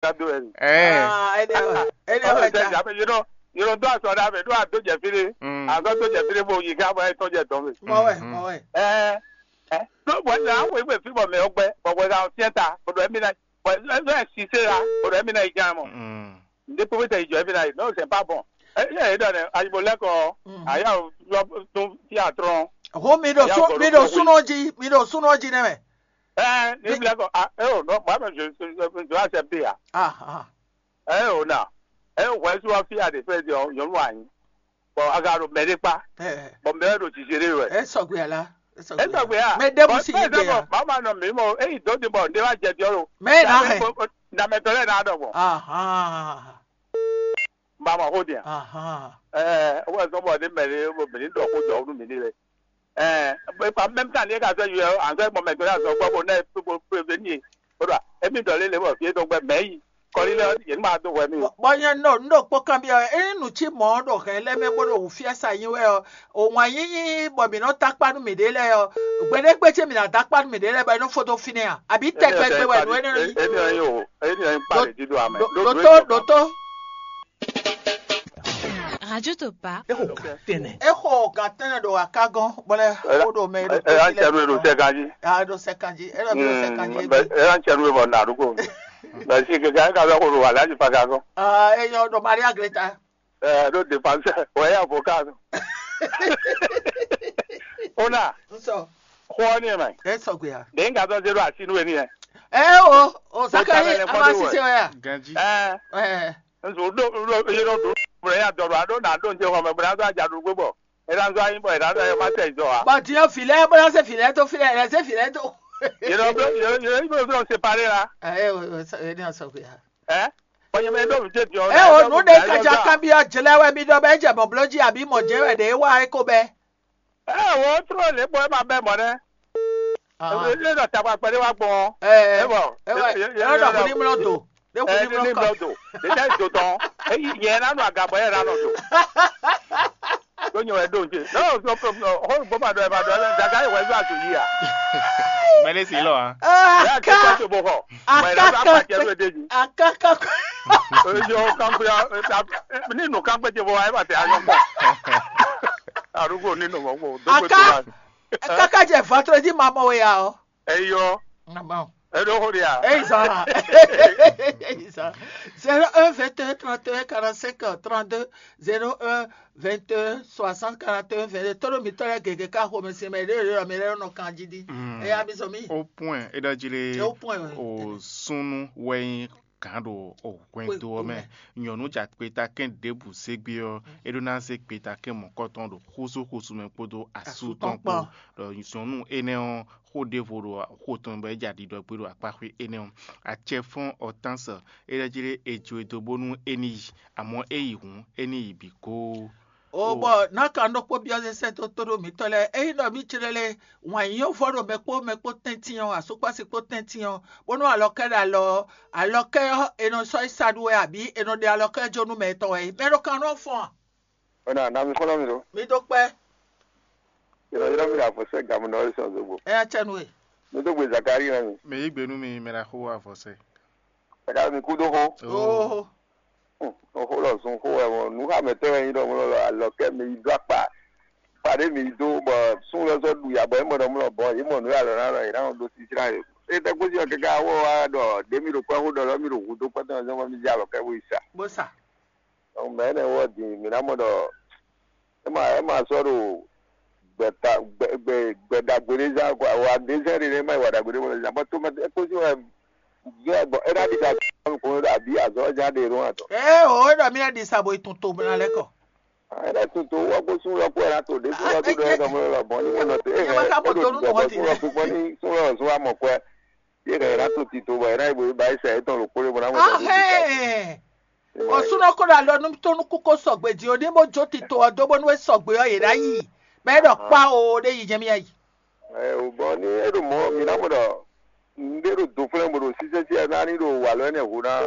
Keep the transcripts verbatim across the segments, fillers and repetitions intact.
Ka do ɛ. Ɛ. Ah, ele ele Ɔlɔ wɛ sɛ ta. Jabe yinɔ yinɔ do asɔ ɖa mɛ ɖo ado jɛ fi ɖe. Mm. Azɔ do jɛ fi ɖe bo yi ká bɔ etɔn jɛ dɔn mɛ. Mɔ wɛ, Mhm. mɔ wɛ. Ɛ ɛ. N'o bɔ ɛ awo egbe fi bɔ mɛ ɔgbɛ bɔ wɛ ka fiɛ ta bɔ ɖɔ ɛmi na bɔ ɛ ɛ sise la bɔ ɖɔ ɛmi na yi jan mɔ. Mm. Nde kpekpe tɛ yi jɔ ɛmi na yi n'o sɛ pa bɔn. Ɛ ɛ dɔ nɛ ayibo lɛ kɔ Mhm. aya lɔ tun fi atrɔn. Ho mi ɖo Aya sun gɔlo mi ɖo kɔ sunɔ ji mi ɖo sunɔ ji nɛ mɛ. Ɛ ni Mi- bilɛ kɔ a ɛ o nɔ ba mɛ je je je accepte ya. Ah ah. Ɛ o na ɛ o hwɛ su wa fi a de fɛ di ɔ nyɔnu anyi. Bɔn a ka ɖo mɛ ɖe kpa Ɛ bɔn mɛ ɖo jijere wɛ. ɛ sɔgbe ala. Ɛ sɔgbe. Ɛ sɔgbe ya. Mɛ ɖe mu si yi gbe ya. Mama nɔ mi mɔ eyi dɔ di bɔ ne wa jɛ diɔ lo. Mɛ na hɛ. Na mɛ tɔ lɛ na dɔ bɔ. Ahan. Mama ho dia. Ahan. Ɛ o wa sɔ bɔ ne mɛ ne bo mi ni dɔ ko jɔ nu mi ni le. Ɛ bɛ pa mɛm ta ne ka sɔ yɔ an sɔ mɔ mɛ tɔ ya sɔ gbɔ bo ne bo bo be ni. O do emi dɔ le le bɔ fi dɔ gbɛ mɛ yi. Kɔli lɛ yɛn ma do hwɛ mi. Bɔ nyɛ nɔ n ɖo kpɔ́ kanbyɔ́ wɛ, ényí nǔ cí mɔ̌ ɖo hɛn lɛ́ɛ mɛ bó ɖo wǔfiása nyi wɛ ɔ́, òwǎn yíyí bɔ mǐ nɔ takpá nú mǐɖée lɛ́ɛ ɔ́, gbeɖé gbe ce mǐ ná dó akpá nú mǐɖée lɛ́ɛ bɔ é nɔ fó dó fínɛ́ a? Abǐ tɛgbɛ gbe wɛ nǔ énɛ́ nɔ nyí? Énɛ́ nyí o, énɛ́ nyí kpa lě jí ɖo amɛ. Ɖó- Ɖótó, ɖótó. Radio Topa. É xo gan tɛnɛ. É xo gan tɛnɛ ɖo aká gɔ́n, bɔ lɛ xo ɖo mɛ ɖo ɛ ɛ an cɛ nu e ɖo sɛ kan jí. A ɖo sɛ kan jí, é ɖo mi ɖo sɛ kan jí. Ɛ an cɛ nu e bɔ na ɖo ko. Mɛ si keke an ka bɛ xo ɖo alaji pa ka gɔ́n. Ah, é nyɔ ɖo Maria Greta. Ɛ ɖo dépense wɛ ya avocat. Ona. N sɔ. Xɔ ɔ́ n'i mɛ. É sɔgbe ya. Ɖe n ka dɔ zé ɖo asi nú we n'i yɛ. Ɛ o, o Zakari, a ma sise wɛ ya. Ganji. Ɛ. Ɛ. Nso ɖo ɖo yé ɖo ɖo bla ya dɔ ɖo aɖo na ɖo ŋjɛ xɔ mɛ bla ɖo adza ɖo gbé bɔ e na zɔ anyi bɔ e na ɖo ayɔ ma tɛ zɔ wa. Bɔ diɔ filɛ bla se filɛ to filɛ lɛ se filɛ to. Yé ɖo bla yé yé yé bla séparé la. Ɛ o o sa e ni sɔ fi ya. Ɛ kɔnyɛ mɛ ɖo mi tɛ diɔ. Ɛ o nu ɖe kadza kan bi ɔ jlɛ wɛ mi ɖɔ bɛ jɛ bɔblɔ ji abi mɔ jɛ wɛ ɖe wa e ko bɛ. Ɛ o trɔ lě bɔ e ma bɛ mɔ nɛ. Ɛ ɖɔ takpa kpɛɖé wá gbɔn. Ɛ ɛ bɔ ɛ wɛ ɛ ɖɔ kuni mlɔ do. Ɖe kuni mlɔ kɔ. Do ɖe tɛ do tɔn. Eyi yɛ na nɔ agabɔ yɛ na nɔ do. Ɖo nyɛ wɛ ɖo nje. N'o sɔ sɔ sɔ hɔn gbɔ ma ɖɔ ɛ ma ɖɔ ɛ daga yi wɛ zɔ ato yi a. Mɛ ne si lɔ a. Ɛ a kɛ kɛ to bo xɔ. Mɛ na ba pa cɛ do ede ji. Akaka. Eyi o kan pe a ni nu kan pe ce bo wa e ma te a yɔ kpɔ. Arúgbó nínú mɔ kó dókòtò wa. Kaka jɛ vendredi ma mɔ ya o. Eyɔ. Eɖo xo ɖia. Eyi zan. Eyi zan. Zéro un vingt et un trente et un quarante-cinq trente-deux, zéro un vingt et un soixante quarante et un vingt-deux. Toro mi tɔlɛ gege ka xo mi sin mɛ ɖe ɖe mi lɛ nɔ kan jí di. Eya mi zɔ mi. Au point, e ɖɔ jí le. Au point, oui. O sunu wɛ nyi gǎn ɖo hwɛndo ɔ́ mɛ. Nyɔ̌nu ja kpetakɛn ɖěbǔ zé gbé ɔ́, é ɖó ná zé kpetakɛn mɔ̌kɔtɔn ɖo xúzúxúzú mɛ kpódó asú tɔn kpó. Ɖɔ nyɔ̌nu énɛ́ ɔ́, xó ɖěvo ɖo xo tɔn mɛ bɔ é ja ɖiɖɔ gbé ɖo akpáxwé énɛ́ ɔ́. Acɛfɔ́n Ɔtánsɔ é ɖɔ jí ɖé è jó e dó bónú é ní yi, amɔ̌ é yi hǔn, é ní yi bǐ kóó. O bɔ náka ɖokpó byɔ́ zɛ sɛ́ dó tóɖó mǐtɔn lɛ́ɛ, ényí ɖɔ mǐ jlɛ́ lé wǎn yíyɔ́ vɔ ɖo mɛ kpó mɛ kpó tɛ́ntin ɔ́, asúkpási kpó tɛ́ntin ɔ́, bónú alɔkɛ́ ɖo alɔ ɔ́, alɔkɛ́ ɔ́, è nɔ sɔ́ yi sa ɖu wɛ abǐ è nɔ ɖe alɔkɛ́ jó nú mɛ tɔn wɛ é? Mɛ ɖo kan nɔ fɔ́n a? Ona na mi xɔlɔ mi ɖo. Mi dó kpɛ́. Yɔrɔ yɔrɔ mi ɖo avɔ sɛ gamu nɔ sɔn zogbo. Ɛ ya cɛ nu e. Mi dó gbe Zakari na mi. Mɛ yí gbe nú mi mɛ ɖo axó avɔ sɛ. Ɛ ka mi kú dó xó. Oho. Xó lɔ zun xó wɛ mɔ nǔ xamɛtɔ́ wɛ nyí ɖɔ mlɔ lɔ alɔ kɛ mi yi dó akpa kpa ɖé mi yi dó bɔ sún lɔ sɔ ɖu ya bɔ é mɔ ɖɔ mlɔ bɔ yě mɔ nǔ alɔ ná lɔ yě ná ɖo sisra yě. Étɛ́ kpó sí ɔ kɛkɛ awɔ wa ɖɔ ɖě mi ɖo kpɛ́ xó ɖɔ lɔ mi ɖo hu dó kpɛ́ tɔn zɔn bɔ mi jɛ alɔ kɛ bo yi sa. Bó sa. Donc mɛ énɛ́ wɔ din mi ná mɔ ɖɔ é ma é ma sɔ́ ɖo gbɛta gbɛ gbɛ gbɛɖagbe ɖé zán quoi wa ɖé zɛ́n ɖé nɛ́ ma yi wa ɖagbe ɖé mɔ zán bɔ tó mɛ é kpó sí wɛ. Gbɔn é ná ɖi sa kɔn ɖo abǐ azɔ̌ ɔ́ ján ɖe ɖó atɔ. Ée o é ɖɔ mí ná ɖi sa bo yi tun to bó ná lɛ́ kɔ. É ná tun to wɔ kó sún lɔ kó ɛ ná to ɖě sún lɔ tó ɖɔ é nɔ mɔ lɔ bɔn ní mɔ nɔ tó é hɛn é ɖo bɔ sún lɔ kpíkpɔ́ ní sún lɔ zún amɔ kɔɛ. Yé hɛn é ná to tito bɔ é ná yi bo yi ba yi sɛ étɔn ɖo kpó lé bó ná mɔ tɔ. Ahɛn. Ɔ súnɔ kó ɖo alɔ nú tó nú kú kó sɔgbe jí o ní bó jó tito ɔ dó bónú é sɔgbe ɔ yě ná yi. Bɔ é ɖɔ kpá o ɖé yi jɛ mí ayi. Ɛ o bɔn ní é ɖo mɔ̌ mǐ ná mɔ ɖɔ nǔɖé ɖo do flɛ́n bó ɖo sísɛ́sí ɛ ná ní ɖo wǎ lɔ énɛ́ hu ná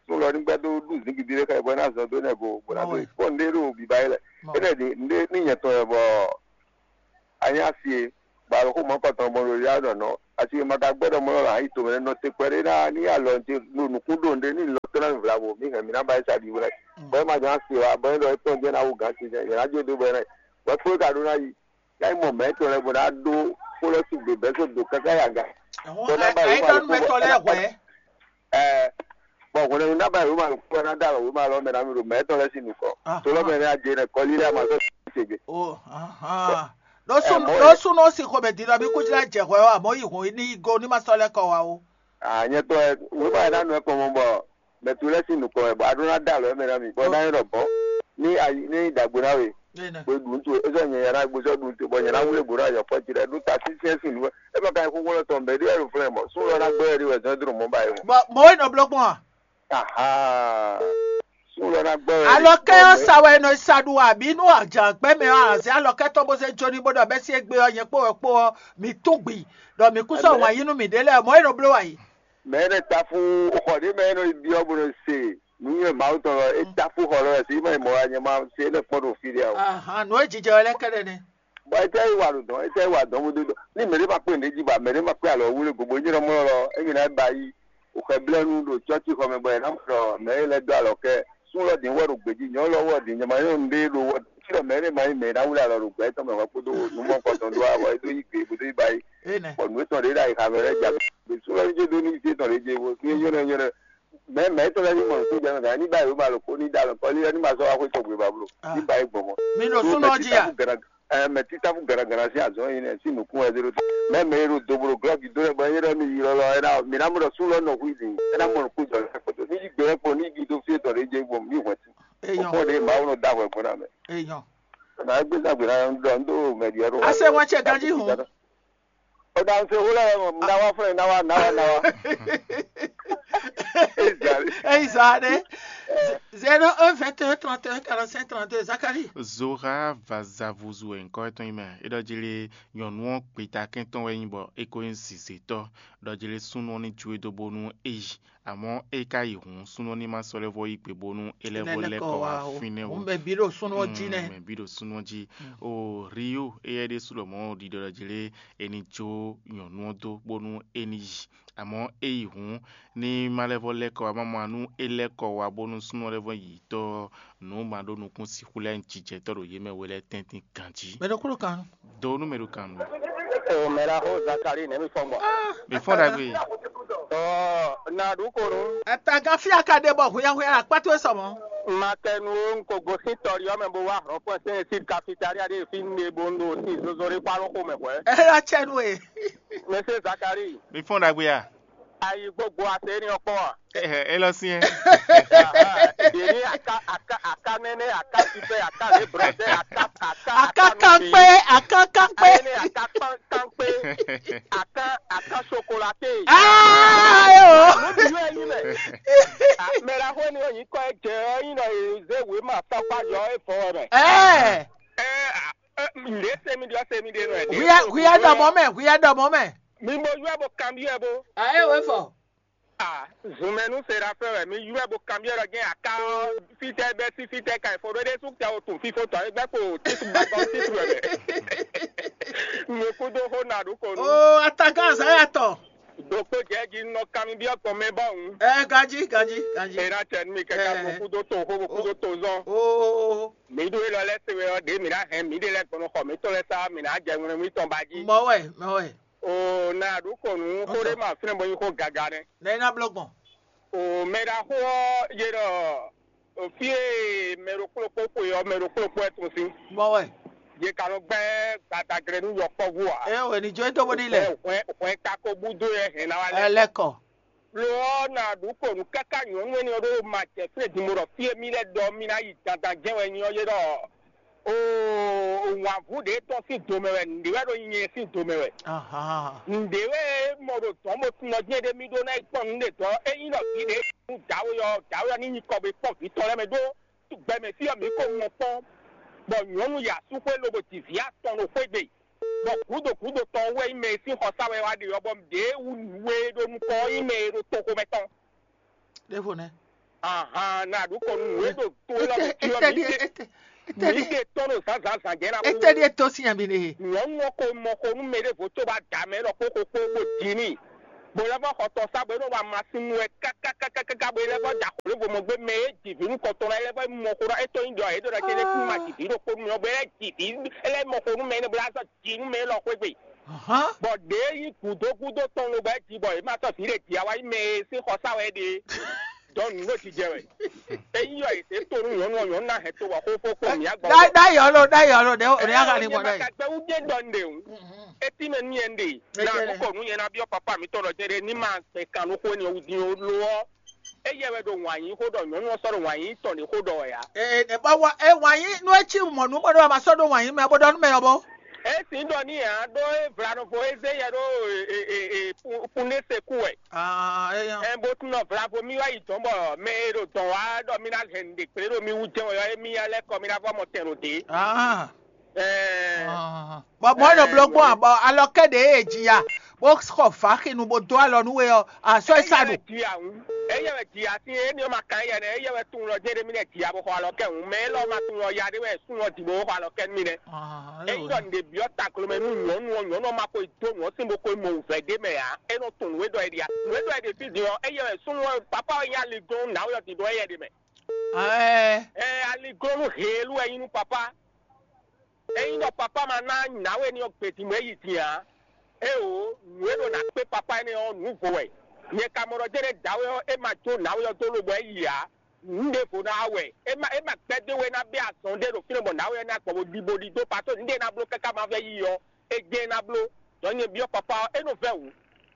nú lɔ ní gbɛ́ dó ɖu zǐngídi ɖé xá ɛ bɔ é ná zɔn dó énɛ́ go bó ná dó bɔn nǔɖé ɖo bǐbá é lɛ énɛ́ ɖi nǔɖé ní nyɛ tɔn wɛ bɔ anyá sie Bɔ alɔxó mɔ̌kɔtɔn gbɔn ɖo yá ɖɔ nɔ. Asi e ma ka gbɛ́ ɖɔ mɔ lɔ ayi tomɛ nɔ te kpɛɖé ná ní alɔ ce ɖo nǔkún ɖo nɖé ní lɔ tɔn ná vla mo mí hɛn mí ná ba yi sa ɖi wlɛ. Bɔ é ma jɔ asi wa bɔ é ɖɔ é tɔn jɛ ná wú gǎn ce jɛ yě ná jó dó bɔ é ná yi. Bɔ kpó ka ɖó ná yi. Ná yi mɔ mɛ tɔn lɛ bɔ ná ɖó kpó lɔ sigbe bɛ́ só do káká yi aga. Bɔ ná ba yi ma lɔ kó bɔ. Ɛɛ, bɔn hwɛnɛnu ná ba wěma lɔkpɔ́ ná dó alɔ wěma lɔ mɛ ná mi ɖo mɛ étɔn lɛ́ɛ sín nukɔn. Tolɔ mɛ nɛ́ adze nɛ́ kɔlí lɛ́ɛ ma sɔ́ tégbe. Ɖó sún Ɛ, mɔ ɖó yɛ. Sún nɔ si xomɛ din nɔ bí kú jlá jɛ hwɛ ɔ́, àmọ́ yi hɔn ní go ní ma sɔ́ lɛ́ kɔ wá o. Ànyɛ tɔ ɛ wěma yɛ ná nɔ ɛ kɔn mɔ bɔ mɛ tu lɛ́ɛ sín nukɔn ɛ bɔ a ɖó ná dó alɔ mɛ ná mi bɔ ná nyɛ ɖɔ bɔ ní ayi ní dàgbé ná we. Bó ɖu ntu é sɔ́ nyɛ yɛ ná gbé sɔ́ ɖu ntu bɔ nyɛ ná wlé gbǒ ná yɔ fɔ jí ɖɛ ɖó ta sínsɛ́n sín nǔ ɛ ma ka nyɛ xóxó lɔ tɔn bɛ́ ɖé wɛ ɖo flɛ́ mɔ sún lɔ ná gbé wɛ ɖé wɛ zɔn é drɔn mɔ ba yi mɔ. Bɔ mɔ̌ e nɔ bló gbɔn a? Aha. Sun lɔ ná gbɔ wɛ. Alɔkɛ ɔ́ sa wɛ nɔ sa ɖu abǐ nú ajǎgbɛ́ mɛ ɔ́, azě alɔkɛ tɔn bó zé jó ní bó ɖɔ bɛ́ sí égbé ɔ́, nyɛ kpó wɛ kpó ɔ́, mǐ tún gbi, ɖɔ mǐ kú sɔ́ wǎn yí nú mǐɖée lɛ́ɛ, mɔ̌ e nɔ bló wɛ yi. Mɛ énɛ́ táfú xɔ ɖé mɛ énɛ́ ɖiɖi ɔ́ bó nɔ se nǔnywɛ́ Mawu tɔn lɔ é táfú xɔ lɔ wɛ sí mɛ mɔ wɛ nyɛ ma se énɛ́ kpɔ́n ɖo fí ɖé ǎ o. Ahan, nǔ e jijɛ wɛ lɛ́ɛ kɛ́ɖɛ́ nɛ́. Bɔ etɛ́ yi wa ɖo dɔn etɛ́ yi wa dɔn bó dó dɔn ní mɛ ɖé ma kpé nǔɖé jí ba mɛ ɖé ma kpé alɔ wú lé gobo nyí ɖɔ mɔ lɔ émi ná ba yi òxɛblɛ́nu ɖo cɔ́cíxɔ mɛ bɔ è nǎ mɔ ɖɔ mɛ e lɛ́ dó alɔ kɛ sún lɔ ɖǐn wɔ ɖo gbějí nyɔ̌ lɔ wɔ ɖǐn nyama nyɔ́ nǔɖé ɖo wɔ cí ɖɔ mɛ énɛ́ ma nyí mɛ e ná wlí alɔ ɖo gbɛ tɔn mɛ hwɛ kpódó nǔmɔkɔ tɔn ɖó wá bɔ é dó yí gbě bó dó yí ba yi bɔ nǔ étɔn ɖě ɖo ayixa mɛ lɛ́ɛ ja gbé sún lɔ ní dó ní yí tɔn ɖě je bó ní nyɔ́ nɔ nyɔ́ nɔ mɛ mɛ étɔn lɛ́ɛ ní mɔ nǔ tó jɛ mɛ gǎn ní ba yi wěma ɖokpó ní ɖó alɔ kɔlí lɛ́ɛ ní ma sɔ́ wá xwé tɔn gbé ba bló ní ba yi gbɔn mɔ. Mi ɖo súnɔ jí a? Ɛ, mɛ títáfú gǎnagǎna sín azɔ̌ e nyɛ sín nǔkún wɛ zé ɖó te. Mɛ mɛ e ɖo doblo glɔ́ gǐ dó lɛ́ɛ bɔ é ɖɔ mì yi lɔlɔ é ná mǐ ná mɔ ɖɔ sú lɔ nɔ hu i dǐ é ná mɔ nǔkún jɔ lɛ́ kpɔtɔ ní yí gbe lɛ́ kpo ní yí gbe dó fí é tɔn ɖé jɛ gbɔn mì hwɛ̌ sí. Eyɔn. Ó kpɔ́n ɖě Mawu nɔ dó ahwɛ gbɔn ná mɛ. Eyɔn. Nǎ gbé zán gbě ná ɖɔ ń dó mɛ ɖi ɔ́ ɖó. Ase wɛn ce ganjí hun. Ó dá ń se wó lɛ́ mɔ ná wá fún ẹ ná wá ná wá ná wá. Eyi zan ɖe. Zéro un vingt et un trente et un quarante cinq trente deux Zacharie. Zora va za vuzu wɛ nyǐkɔ étɔn nyí mɛ. É ɖɔ jí lé nyɔ̌nu ɔ́ gbeta kɛntɔn wɛ nyí bɔ é ko nyí zǐzétɔ́. Ɖɔ jí lé súnnu ɔ́ ní jó e dó bónú é yi. Amɔ̌ é ka yi hǔn súnnu ɔ́ ní ma sɔ́ lɛ́ vɔ́ yí gbe bónú é lɛ́ vɔ́ lɛ́ kɔ wá fínɛ́ ó. Mɛ bǐ ɖo súnnu ɔ́ jí nɛ́. Mɛ bǐ ɖo súnnu ɔ́ jí. O Rio éyɛ́ ɖésú lɔmɔ̌ ɖiɖɔ ɖɔ jí lé é ní jó nyɔ̌nu ɔ́ dó bónú é ní yi. Amɔ̌ é yi hǔn ní má lɛ́ vɔ́ lɛ́ kɔ wá má mɔ nú é lɛ́ kɔ wá bónú súnnu ɔ́ lɛ́ vɔ́ yi tɔ́ nǔ ma ɖó nukún sixú lɛ́ɛ jijɛ tɔ́ ɖo yě mɛ we lɛ́ɛ tɛ́ntin ganjí. Mɛ ɖokúnɔ kan. Do nú mɛ ɖo kan nú. O mɛ la xo Zakari nɛ mi fɔ mɔ. Mi fɔ ɖagbe. Ɔ na ɖu ko nu. Atagan fia ka ɖe bɔ hwíyáhwíyá akpá towe sɔ mɔ. Ma kɛ nu o n ko gosín tɔli ɔ́ mɛ bó wá hlɔ̌nfɔ́n sɛn sí kafitalia ɖé fi ne bó n ɖo sí zozo ɖé kpá ló xo mɛ hwɛ̌. Ɛ lɔ cɛ nu e. Mɛ se Zakari. Mi fɔ ɖagbe a? Ayi gbogbo ase ni ɔkpɔ a? Ɛ ɛ lɔ si ɛ. Aha, ɖe ni aka aka aka nɛnɛ aka sipɛ aka le brɔdɛ aka aka Aka kan kpé, aka kan kpé. Ayi ne aka kpan kan kpé. Aka aka chocolate. Aa yo. Nubi yɔ yi mɛ. Mɛ la xo ni o yi kɔ jɛ ɔ yi nɔ ye ze we ma fa kpa jɔ e fɔ mɛ. Ɛɛ. Ɛ ɛ le se mi diɔ se mi de nɔ ɛ. Huya huya dɔ mɔ mɛ, huya dɔ mɔ mɛ. Mi bo yɔ bo kan bi ɛ bo. Ayi o e fɔ. Ah, zunmɛnu Serafin wɛ mi ywɛ bo kanbyɔ́ ɖɔ jɛ́n aká ɔ́ fítɛ́ bɛ́ sí fítɛ́ ka fo ɖó ɖésú tɛ o tun fífó tɔn é gbɛ́ kpo títu gbàgbọ́ títu wɛ mɛ. Nukúndó xó na ɖu ko nú. O atakan azǎ ya tɔ. Ɖokpó jɛ́ jí nɔ kanbyɔ́ gbɔn mɛ bɔ́ hǔn. Ɛ ganjí ganjí ganjí. Ena tɛ nú mi kɛká Ɛ. Bokúdó to xó bokúdó to zɔn. Oo. Mi ɖó élɔ́ lɛ́ɛ se wɛ ɔ́ ɖě mǐ ná hɛn mǐɖée lɛ́ɛ gbɔn nú xɔ mǐtɔn lɛ́ɛ sá mǐ ná jɛ ŋlɛ́ mǐtɔn ba jí. Mɔ wɛ mɔ wɛ. O na ɖu kɔnu xó ɖé ma fínɛ́ bɔ nyí xó gaga nɛ́. Nɛ ná bló gbɔn. O mɛ ɖaxó ɔ́ yé ɖɔ fí e mɛ ɖokpó ɖokpó xwe ɔ́ mɛ ɖokpó ɖokpó wɛ tun sín. Mɔ wɛ. Yě ka nɔ gbɛ́ gbadaglɛ nú yɔkpɔ́vú ǎ. Ɛ wɛ ní jó é dó bó ní lɛ. Hwɛn hwɛn ka ko búdó yɛ hɛn ná wá lɛ. Ɛ lɛkɔ. Lo ɔ́ na ɖu kɔnu káká nyɔ̌nu énɛ́ ɔ́ ɖó ma jɛ fí e din bó ɖɔ fí e mì lɛ́ ɖɔ mì ná yi dandan jɛ́n wɛ nyí ɔ́ yé ɖɔ. Oo, wǎnvú ɖě tɔn sín do mɛ wɛ, nǔɖé wɛ ɖo nyɛ sín do mɛ wɛ. Nǔɖé wɛ mɔ ɖo dɔ̌n bó tunɔ jɛ́n ɖé mì ɖó ná yi kpɔ́n nǔɖé dɔ̌, ényí ɖɔ vǐ ɖě nu dǎwe ɔ́, dǎwe ɔ́ ní nyi kɔ bo yi kpɔ́n vǐ tɔn lɛ́ɛ mɛ ɖó gbɛmɛ fí ɔ́ mǐ ko mɔ kpɔ́n, bɔ nyɔ̌nu yi asúxwé lobo ji vǐ atɔn ɖo xwé gbe, bɔ gǔdo gǔdo tɔn wɛ nyí mɛ e sín xɔsá wɛ wá ɖe ɔ́, bɔ ɖě wú nǔ e ɖo nukɔn ɔ́ nyí mɛ e ɖo toxomɛ tɔn. Ɖěvo nɛ́. Ahan, na ɖu kɔ nú nǔ e ɖo to élɔ́ mɛ jí ɔ́, mǐ ɖe. Mǐ ɖe tɔ́n ɖo zǎnzǎnzǎn jɛ ná kú. Étɛ́ ɖíe tó sín nya mi ɖe? Nyɔ̌nu ɔ́ ko mɔ xo nú mɛɖěvo có ba dǎ mɛ ɖɔ xóxó kpó bó ji n'i. Bó lɛ́ vɔ xɔ tɔn sá bɔ é nɔ wa masin nú wɛ kákákákáká bɔ é lɛ́ vɔ da xwlé vo mɔ gbé mɛ e ji vǐ nú kɔ tɔn lɛ́ɛ lɛ́ vɔ mɔ xó ɖɔ é tó nyí ɖɔ é ɖɔ ɖɔ céɖé kún ma ji vǐ ɖo kpó nú mì ɔ́ bɔ é lɛ́ ji vǐ é lɛ́ mɔ xó nú mɛ énɛ́ bó lɛ́ zɔ ji nú mɛ élɔ́ xwé gbe. Bɔ ɖě nyí gǔdo gúdo tɔn lobɔ é ji bɔ é ma sɔ́ vǐ ɖě ji a wá nyí mɛ e sín xɔ sá wɛ é ɖe. Dɔn nǔ ɖo jijɛ wɛ. Ényí yɔ è zě to nú nyɔ̌nu ɔ́, nyɔ̌nu ná hɛn to bɔ xó fó kpó mǐ agbɔ. Ɖá ɖá yɔ lo ɖá yɔ lo ɖɛ o ɖɛ aga ni gbɔ ɖɛ. Ka gbɛ wú dé dɔ nɖe o. Etí mɛ nú yɛ nɖe. Na nukɔ nú yɛ na biɔ papa mi tɔn dɔ jɛ ɖe ní ma gbɛ kan nú xó ni o di o lo ɔ. Eye wɛ ɖo wǎn yí xó ɖɔ nyɔ̌nu ɔ́ sɔ́ ɖo wǎn yí tɔn ɖě xó ɖɔ wɛ ǎ. Ɛ ɛ bɔ wa ɛ wǎn yí nú e cí mɔ nú bɔ ɖɔ ma sɔ́ ɖo wǎn yí mɛ bó ɖɔ nú mɛ ɔ́ bó. Esi ɖɔ ní ǎ ɖó é vlaɖofo é zé yɛ ɖó kunɖése kú wɛ. Aa é yɔ. Ɛ bó tún nɔ vlavo mì wá yi dɔn bɔ mɛ e ɖo dɔn wá ɖɔ mì ná hɛn nǔɖé kplé ɖo mì wú jɛ́n wɛ ɔ́, émí nya lɛ́ kɔ mì ná vɔ mɔ tɛn ɖo dě. Aa Ɛɛ, bɔ mɔ̌ nɔ bló gbɔn a bɔ alɔ kɛ ɖě e ji ya bó xɔ vǎxinu bó dó alɔ nú we ɔ́, a sɔ́ é sa ɖu. Ji a ŋu. Eye wɛ ji a sín éní ɔ́ ma kan yɛ nɛ, eye wɛ tunwun lɔ jɛ́n ɖé mì nɛ ji a bó xɔ alɔ kɛ ŋu. Mɛ élɔ́ ma tunwun lɔ ya ɖé wɛ súnnu ɔ́ ji bó xɔ alɔ kɛ nú mì nɛ́. Ényí ɖɔ nǔɖé byɔ́ taklomɛ nú nyɔ̌nu ɔ́, nyɔ̌nu ɔ́ ma ko yi dó nǔ ɔ́ sín bó ko yi mɔ wǔvɛ́ ɖé mɛ ǎ. É nɔ tunwun nǔ e ɖɔ é ɖe a. Nǔ e ɖɔ é ɖe fí din ɔ́, eye wɛ súnnu ɔ́ papá ɔ́ nyí aliglɔ́nú nǎwe ɔ́ din ɖó éyɛ́ ɖe mɛ. Ɛɛ, Ɛɛ, aliglɔ́nú heelú wɛ nyí nú papá. Ényí ɖɔ papá ma ná nǎwe ní ɔ́ gbedin mɔ é yi din ǎ, éeǒ, nǔ e ɖo ná kpé papá énɛ́ ɔ́, nǔ vo wɛ. Nyɛ ka mɔ ɖɔ jɛ́nɛ́ dǎwe ɔ́, é ma jó nǎwe ɔ́ dó lobɔ é yi ǎ. Nǔ ɖěvo ná wá wɛ. É ma é ma gbɛ́ dó we ná bɛ́ azɔn ɖé ɖo fínɛ́ bɔ nǎwe ɔ́ ná gbɔ bó ɖi bó ɖidó pató nǔ ɖé ná bló káká ma vɛ́ yi ɔ́, é jɛ́n ná bló. Dɔ̌ nyɛ byɔ́ papá ɔ́, é nɔ vɛ́ wǔ.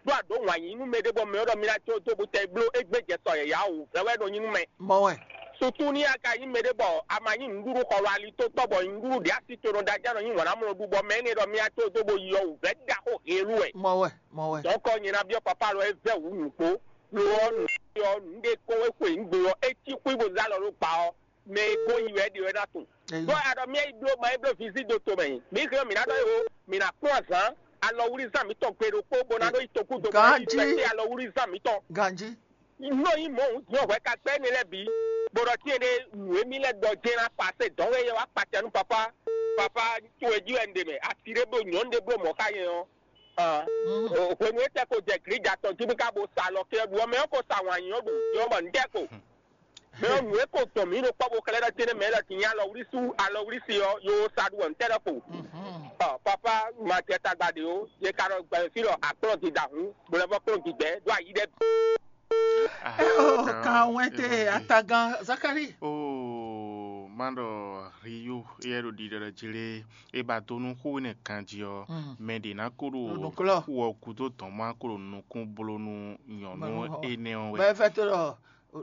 Ɖó a ɖǒ wǎn yí nú mɛɖé bɔ mɛ ɔ́ ɖɔ mi ná jó dó bó tɛ bló égbé jɛ sɔ yǎyá wǔvɛ́ wɛ nɔ nyí nú mɛ. Mɔ wɛ. Sutu ní a ka nyí mɛɖé bɔ a ma nyí nǔɖuɖu xɔlɔ alitotɔ́ bɔ nǔɖuɖu ɖě asi to nɔ ɖ'ajá nɔ nyí wǎn ná mlɔ ɖu bɔ mɛ énɛ́ ɖɔ mi ná jó dó bó yi ɔ́ wǔvɛ́ ɖaxó heelú wɛ. Mɔ wɛ. Mɔ wɛ. Dɔ̌nkɔ nyɛ ná byɔ́ papá lɔ é vɛ́ wǔ nǔ kpó. Lo ɔ́, nǔ ɔ́, nǔ ɖé kɔn é xwe nǔ gbe ɔ́, é cí xwí bó zá lɔ ɖó gba ɔ́, mɛ e gɔ́n yi wɛ é ɖe wɛ ná tunwun. Ɖó a ɖɔ mì yi bló ma yi bló vǐ zí do tomɛ. Mǐ hɛn ɔ́, mǐ ná ɖɔ éwo, mǐ ná kplɔ́n azǎn, alɔwlízán mǐtɔn gbe ɖokpó bó ná ɖó yi tokúdo bó ná yi Ganjí. Fɛ́tɛ́ alɔwlízán mǐtɔn. Ganjí. Nɔ nyí mɔ̌ hǔn din ɔ́ hwɛ ka gbɛ́ énɛ́ lɛ́ɛ bǐ, bó ɖɔ cyɛn ɖé nǔ e mì lɛ́ ɖɔ jɛ́n ná pasé dɔ̌n wɛ yɛ wá kpacɛ nú papá. Papá towe jí wɛ un ɖe mɛ, asi ɖé bló nyɔ̌nu ɖé bló mɔ̌ xá nyɛ ɔ́. Hwenu e tɛ ko jɛ glǐja tɔn jí mì ka bo sa alɔ kɛ ɖu ɔ́, mɛ ɔ́ ko sa wǎn nyí ɔ́ ɖu, yɔ bɔ un ɖɛ ko. Mɛ ɔ́, nǔ e ko dɔn mǐ ɖo kpɔ́ bó xlɛ́ ɖɔ jɛ́nɛ́ mɛ lɔ din nyí alɔwlísú alɔwlísi ɔ́, yo sa ɖu wɛ un tɛ ɖɔ ko. Papa, ma jɛ tagba ɖě ó, yě ka ɖɔ gbɛ̌ fí ɖɔ akplɔ́n dida hǔn, bó lɛ́ vɔ kplɔ́n digbɛ̌ ɖó ayi ɖɛ bǐ. Kan wɛn te atagán Zakari. Oo, má ɖɔ Rio yɛ ɖo ɖiɖɔ ɖɔ jlé é ba dó nú xó énɛ́ ganjí ɔ́, mɛ ɖě ná kó ɖo Nukúnlɔ. Xú ɔ́ gúdo dɔn má kó ɖo nukún bló nú nyɔ̌nu énɛ́ ɔ́ wɛ. Bɛ́ fɛ́ tó ɖɔ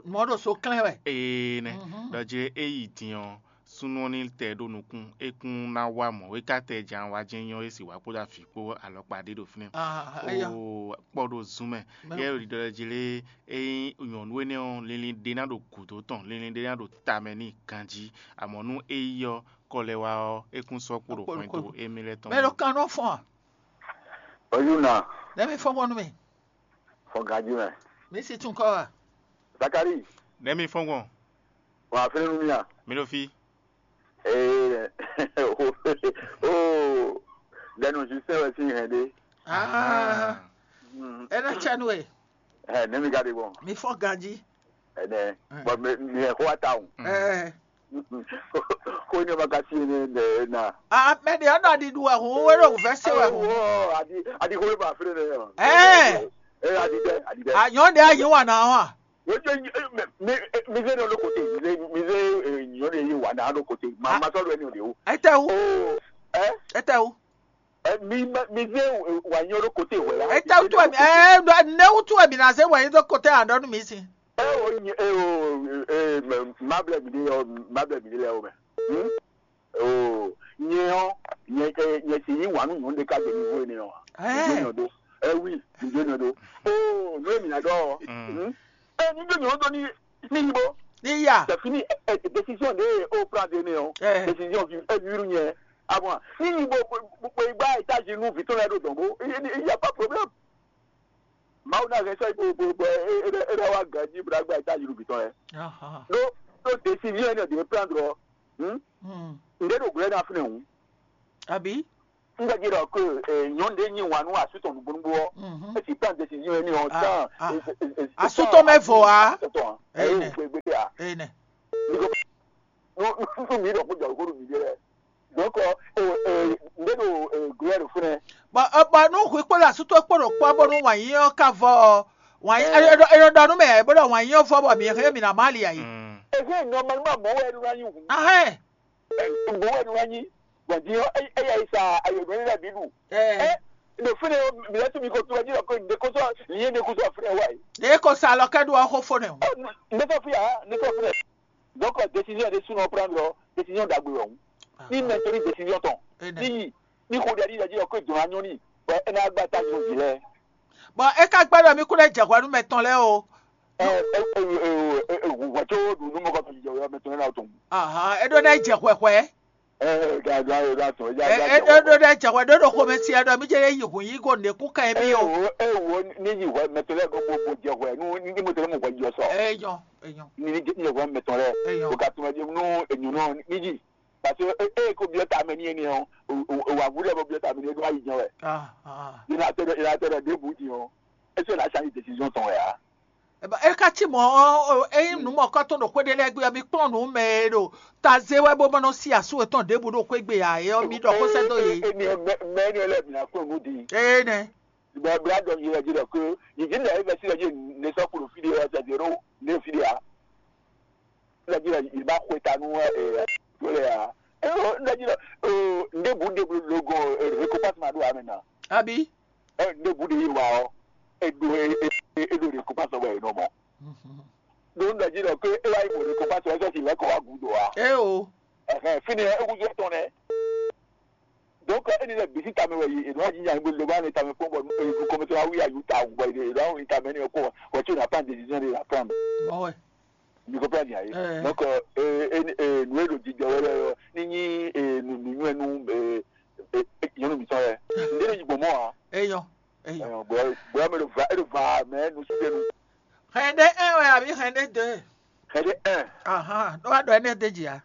mɔ̌ ɖo so klɛ́n wɛ. Ee nɛ, ɖɔ jlé é yi din ɔ́, súnnu ɔ́ ní tɛ ɖó nukún, é kún ná wá mɔ̌ é ka tɛ jǎn wá jɛ́n nyɔ́ é sì wá kpódó avǐ kpó alɔkpa ɖé ɖo fínɛ́. Ah, eya. Oo, kpɔ ɖo zun mɛ. Yɛ ɖiɖɔ jlé é nyí nyɔ̌nu énɛ́ ɔ́, linlin ɖé ná ɖo gǔdo tɔn, linlin ɖé ná ɖo tamɛ n'i ganjí. Amɔ̌ nú é yi ɔ́, kɔ lɛ́ wá ɔ́, é kún sɔ́ kpo ɖo Kpo ɖo hwɛndo kpo. Émí lɛ́ɛ tɔn Mɛ mɛ. Ɖo kan nɔ fɔn a? Oyúna, Nɛ́ mi fɔ́n gbɔn nú mi. Fɔn ganjí mɛ. Mi si tún kɔ a? Zakari, Nɛ́ mi fɔ́n gbɔn. Wà á fínú nú mì a? Mi ɖo fí. Ee, oo, dɛnu sísɛ wɛ sín hɛn ɖé. Ah, Mm, é ná cɛ nú we. Ɛ, nɛ́ mi ka ɖe gbɔn? Mi fɔ́n ganjí. Ɛnɛ, Mm. Bɔ mi mi hɛn xó wa ta o. Mm. Ɛ, Xó ní ɔmɔ ka sí ní ɖe na. A mɛ ɖe ɔ́ ɖɔ ɖiɖu wɛ hǔn wé ɖo vɛ́ se wɛ hǔn. Adi adi xó ló ba fúnni nɛ yɔ. Ɛɛ. Ɛ adi dɛ adi dɛ. Anyɔ́ ɖe anyi wà náà wà. Wéjọ mi mi mi zé ní olóko te mi zé mi zé nyɔ ɖe yé wà náà olóko te ma ma sɔ̀rọ̀ ẹni òde o. Ẹ tẹ wú. O ẹ Ẹ tẹ wú. Ẹ mi ma- mi zé wà nyɔ olóko te wẹ̀ ya. Ẹ tẹ wú tu ẹ̀mí ẹ nẹ wú tu ẹ̀mí náà ṣe wẹ̀ yín tó kó tẹ́ àdánù mi sí. Ẹ o nyi ẹ o ẹ mẹ má blẹ mi dé yọ má blẹ mi dé lẹ o mẹ. Hmm? O nyɛ ɔ nyɛ ɛ nyɛ si yi wà nù nyɔ ɖe ká gbɛ mi vo ne ɔ. Ɛ. Nyɔ do. Ɛ wi nyɔ do. O n'o mi na dɔ. Hmm. Ɛ ni do nyɔ do ni ni yi bo. Ni ya. Tɛ fini ɛ décision de o pra de ne ɔ. Ɛ. Décision vi ɛ viru nyɛ. Abɔn ni yi bo bo igba étage nu vitɔ lɛ do dɔn bo. Il y a pas problème. Mawu na hɛn sɔ bo bo bo e e wa ganji bra gba étage nu vitɔ lɛ. Aha. Do do décision ne de prendre. Hmm? Nde ɖo glɛ́ na fínɛ́ hǔn? Àbí? Un gbɛ́ ɖɔ ke nyɔ̌nu ɖé nyi wǎn nú asú tɔn nǔgbó nǔgbó ɔ́, é sì prend décision énɛ́ ɔ́ tán. Asú tɔn mɛ vɔ ǎ. Tɔn ɛ yóò gbégbé ǎ. Nú mǐ ɖɔ kó jɔ kó ɖo mǐ ɖe lɛ́ɛ. Donc, nde ɖo glɛ́ ɖo fúnɛ? Bɔ bɔ nú hwi kpó ɖo asú towe kpó ɖo kpɔ́ bónú wǎn yí ɔ́ ka vɔ ɔ́, wǎn yí é nɔ ɖɔ nú mɛ bó ɖɔ wǎn yí ɔ́ vɔ bɔ mǐ hɛn mǐ ná má ali ayǐ. Ehe normalement mɔ̌ wɛ é nɔ ná nyí hǔn. Ahɛn. Mɔ̌ wɛ é nɔ ná nyí. Bɔn din ɔ́, eya yi sa ayɔ̌nú lɛ́ɛ bǐ ɖu. Ɛ ɖo fínɛ́ ɔ́, mǐ lɛ́ tún mi ko tunwun jí ɖɔ ko nǐɖé kó sɔ́ nyɛ ɖé kó sɔ́ fínɛ́ wá yi. Ɖě ko sa alɔ kɛ ɖo ɔ́ xó fó nɛ o. Ndé sɔ́ fí ǎ, ndé sɔ́ fínɛ́. Donc, décision ɖé súnɔ prendre ɔ́, décision ɖagbe wɛ hǔn. Ní mɛ tó ní décision tɔn, ní yi, ní xo ɖe ɖi ɖe jí ɔ́, kó dɔn anyɔ ní, bɔ é ná gba ta nyɔ jí lɛ́ɛ. Bɔ é ka gbɛ́ ɖɔ mí kún lɛ́ jɛ hwɛ nú mɛ tɔn lɛ́ɛ o. Hwɛ tó ɖu nú mɔkɔ tɔn jijɛ wɛ mɛ tɔn lɛ́ɛ ná tɔn. Ahan, é ɖó ná yi jɛ hwɛhwɛ. Ɛ ga ga ɛ ga tɔn. É ɖó ná yi jɛ hwɛ ɖó ɖo xomɛ si ɛ ɖɔ mí jɛ lé yi hǔn yí go nǔɖé kún ká ɛ mí o. Ewo ewo ní yi hwɛ mɛ tɔn lɛ́ɛ gɔ́ bó bó jɛ hwɛ nú ní mɔ tɔn lɛ́ɛ mɔ hwɛ jɔ sɔ. Eyɔn eyɔn. Ní ní jɛ hwɛ mɛ tɔn lɛ́ɛ. Eyɔn. O ka tɔn jɛ nú enyɔ nɔ ní yi. Parce que e e ko biɔ ta mɛ ní ɛni ɔ, o wa wu lɛ bɔ biɔ ta mɛ ní ɛni wa yi jɛn wɛ. Ah ah. Ina tɛ dɔ ina tɛ dɔ ɖěbǔ din ɔ, ese na change décision tɔn wɛ a? Eba e ka ci mɔ ɔ, eyin nu mɔ kɔtɔn ɖo xwé ɖé lɛ́ɛ gbé ɔ, mi kplɔ́n nǔ mɛ e ɖo taze wɛ bó ma nɔ sí asú etɔn ɖěbǔ ɖo xwé gbe ǎ é ɔ́, mi ɖɔ xó sɛ́ dó yě. Eni mɛ eni lɛ mi na kplɔ́n nǔ din. Ee nɛ. Bla bla dɔ yi lɛ ji lɛ ko yi ji lɛ e bɛ si lɛ ji ne sɔ kulu fi de ɔ sɛ zero ne fi de a. Lɛ ji lɛ yi ba xwe ta nu ɛ to lɛ a. Eo lɛ ji lɛ o ne bu de lo gɔn e ko pas ma do a mɛ na. Abi. Ɛ ne bu de yi wa ɔ e do e e e do de ko pas wɛ e nɔ mɔ. Do ne ji lɛ ko e wa yi mo de ko pas wɛ sɔ si lɛ kɔ wa gu do a. E o. Ɛhɛn fini ɛ e wu jɔ tɔn nɛ. Donc, eni lɛ bǐ sín tamɛ wɛ è nɔ wá jínjɔ́n ayǐ bó lobá ní tamɛ kpɔ́n bɔ nukɔn mɛtɔn wá wí ayǔ tawun bɔ è nɔ wá wlin tamɛ énɛ́ ɔ́ kpɔ́n wɛ, wɛ có n'a pas de décision de la prendre. Mɔ̌ wɛ. Mi comprend bien ye. Donc, nǔ e ɖo jijɔ wɛ lɛ́ɛ ɔ́, ní nyí nǔnywɛ́ nú nyɔ̌nu mǐtɔn lɛ́ɛ. Ndé ní yi gbɔn mɔ̌ ǎ. Eyɔn. Eyɔn. Bɔ̌ bɔ̌ mɛ ɖo va é ɖo va mɛ nusúɖenu. Hɛn ɖé un wɛ abǐ hɛn ɖé deux? Hɛn ɖé un. Ahan, ɖó wá ɖɔ énɛ́ d'é jì ǎ.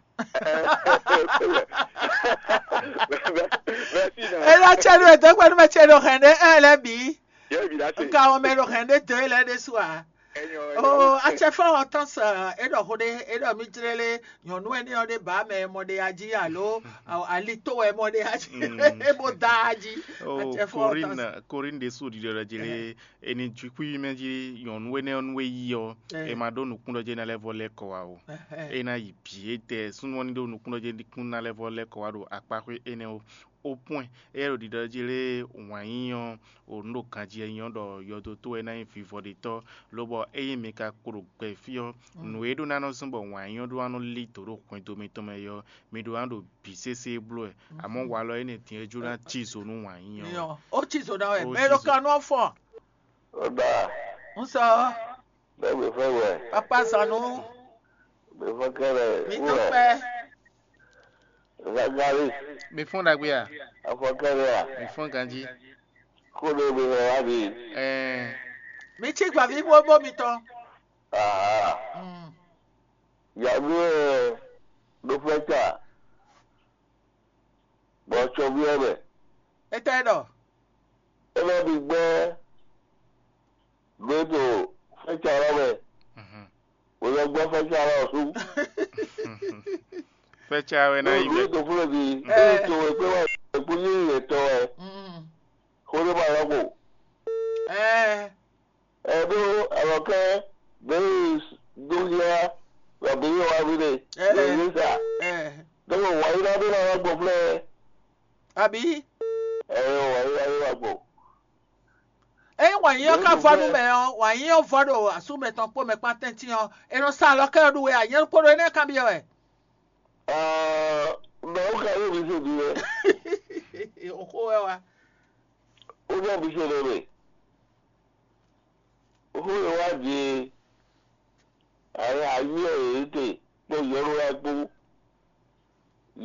Merci, non. Ela cɛ ɖo edɔgba nú mɛ cɛ ɖo hɛn ɖé un lɛ bǐ. Yɛ bi la se. Nka wɔn mɛ ɖo hɛn ɖé deux lɛ ɖésú ǎ. Enyɔ, enyɔ. O acɛfɔ ɔtɔn sɛ e ɖɔ xo ɖe e ɖɔ mi jlé lé nyɔnu ɛni ɔ ɖe ba mɛ mɔ ɖe aji alo ali to wɛ mɔ ɖe aji e bo da aji. Oh, Corinne, Corinne ɖésú ɖiɖɔ ɖe jlé. Eni jukui mɛ jí nyɔnu énɛ́ ɔ́ nú é yí ɔ́, é ma ɖó nukúnnɔ́jɛ́ ná lɛ́ vɔ lɛ́ kɔ wá o. É ná yi bǐ étɛ́ súnnu ɔ́ ní ɖó nukúnnɔ́jɛ́ kún ná lɛ́ vɔ lɛ́ kɔ wá ɖo akpáxwé énɛ́ ó. Ó pɔ́n ɛ, é ɖo ɖiɖɔ jí lé wǎn yí ɔ́, o nǔ ɖo ganjí ɛ nyí ɔ́ ɖɔ yɔdo tó wɛ ná nyí vivɔɖetɔ́, lobɔ ényí mi ka kpo ɖo gbɛ fí ɔ́, nǔ e ɖó ná nɔ zɔ́n bɔ wǎn yí ɔ́ ɖó ná nɔ lí dǒ ɖo hwɛndo mitɔn mɛ é ɔ́, mi ɖó ná ɖo bǐ sésé bló ɛ. Amɔ̌ walɔ énɛ́ din é jló ná cí zo nú wǎn yí ɔ́. Ó cí zo ná wɛ. Ó mɛ cí ɖo zo. Kanú ɔ́ fɔn. Ó dá. Ń sɔ. Bẹ́ẹ̀ gbé fẹ́ wẹ̀. Papa Sanu. Gbé fẹ́ kẹ́rẹ́. Mi tó pẹ́. Zagari. Mi fún ɖagbe a? Afɔ kẹ́rẹ́ a? Mi fún ganjí. Kó ló gbé fẹ́ wá bí? Ɛɛ. Mi cí gbàví bóbó mi tán. Aha. Mm. Yàgbé ẹ̀ ló fẹ́ tà. Bɔ tsɔví ɔ́ mɛ. Etɛ ɖɔ. É nɔ ɖi gbɛ́ gbé ɖo fɛ́calɔ́ mɛ. Wòlɛ́gbɔ́ fɛ́calɔ́ ɔ́ sú. Fɛ́ca wɛ ná yi Lóòlù mɛ. Ètò fúnlẹ̀ bí Ɛ. Ètò ẹgbẹ́ wa ẹ̀kú ní ìyẹ̀tọ̀ ẹ̀. Mm. Xó ló máa lọ́gbò. Ɛ. Ẹ ɖó alɔkɛ bɛyi dúnjá lɔbí yóò wá bí ɖe Ɛ. Lóyún sá. Ɛ. Dɔbɔ wǎyí ná ɖó ná wá gbɔ flɛ. Àbí? Ẹ yóò wǎyí ná ɖó wá gbɔ. Eye wǎnyí ɔ́ ka vɔ nú mɛ ɔ́, wǎnyí ɔ́ vɔ ɖo asú mɛtɔn kpó mɛ kpán tɛ́ntin ɔ́, è nɔ sa alɔkɛ ɔ́ ɖu wɛ anyɛ́ kpódó énɛ́ kanbyɔ́ wɛ. Mɛ ó ka yóò bí sèdí wɛ. Òxó wɛ wa. Ó bɛ bí sèdí wɛ. Ó yẹ wá di ayé ayé ẹ̀ yìí tè kpó yɔ́lú wá kpó.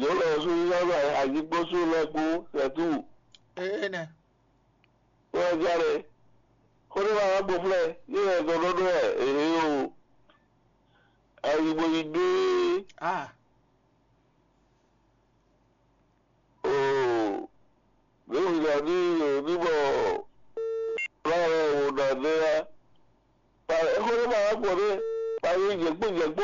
Yɔ́lú ẹ̀ sún yɔ́lú ayé kpó sún lɛ kpó sɛ̀tú. Ee nɛ. Wɛ jare. Xó ɖé wá gbɔ flɛ yé wɛ zɔ ɖɔɖɔ wɛ èhé o. Ayi bo yi gbé. Ah. ya ní ní bɔ lára wò nǎ nɛ́ á. Ba é xó ɖé ma wá gbɔ ɖé, ba yí jɛ̌kpó jɛ̌kpó